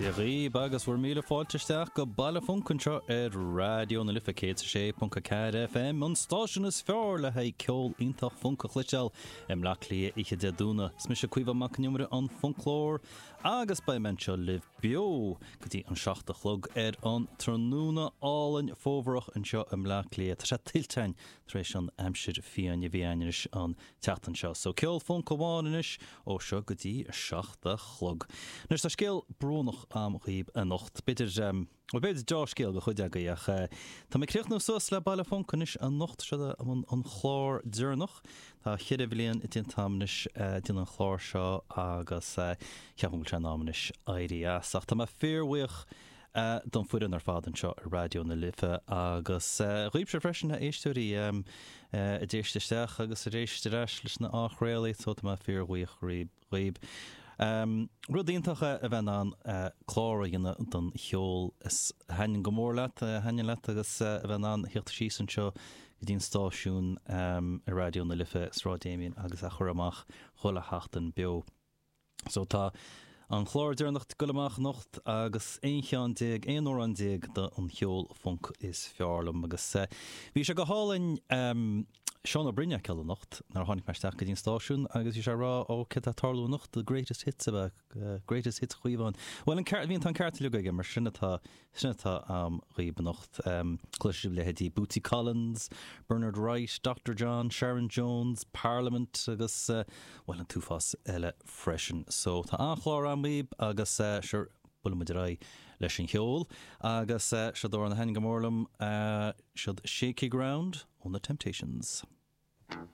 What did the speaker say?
Dia dhaoib agus bhur míle fáilte isteach go Baile Func anseo ar Raidió na Life 106.4 FM, an stáisiún is fearr le haghaidh ceol iontach func a chloisteáil i mBleá Cliath oíche Dé Domhnaigh. Is mise Caoimhe Mac Con Iomaire, an Funclóir, agus beidh mé anseo libh beo go dtí an 7 a chlog ar an tráthnóna álainn fómharach anseo i mBleá Cliath. Tá sé tuillte againn tar éis an aimsir fiáin a bhí againn anois an tseachtain seo. So ceol func amháin anois ó seo go dtí a 7 a chlog. Anois tá scéal brónach a'm dhaoib anocht. B'fhéidir, bhuel b'fhéidir deá-scéal do chuid agaibh ach tá mé ag críochnú suas le Baile Func anois anocht. Seo an an chlár deireanach. Tá cheithre bhliain déanta a'm anois ag déanamh an chláir seo agus ceapaim go bhfuil sé in am anois éirí as. Ach tá mé fíorbhuíoch don foireann ar fad anseo ar Raidió na Life agus dhaoibhse freisin, a éisteoirí, a d'éist isteach agus a d'éist ar ais leis na athchraoltaí, so tá mé fíorbhuíoch dhaoib. Rud iontach é a bheith in ann clár a dhéanamh don cheol is a thaitníonn go mór leat, a thaitníonn leat agus a bheith in ann theacht síos anseo go dtí an stáisiún ar Raidió na Life, Sráid Damien agus a chur amach chuile sheachtain beo. So tá an clár deireanach ag goil amach anocht agus 11 cheann, 11 amhrán den cheol func is fearr liom. Agus bhí sé go hálainn Seán Ó Broin a fheiceáil anocht nuair a tháinig mé isteach go dtí an stáisiún agus bhí sé ag rá ó céard atá ag tarlú anocht, the greatest hits ab ea, greatest hits Chaoimhín. Bhuel an ceart, bhí an, tá an ceart uilig aige mar sin atá, Sin atá a'm dhaoib anocht. Cloisfidh sibh leithéidí Bootsy Collins, Bernard Wright, Doctor John, Sharon Jones, Parliament agus, bhuel, an t-uafás eile freisin. So, tá an-chlár a'm dhaoib agus, sure, buailfidh muid ar aghaidh leis an cheol. Agus seod amhrán a thaitníonn go mór liom, seod Shaky Ground ó na Temptations.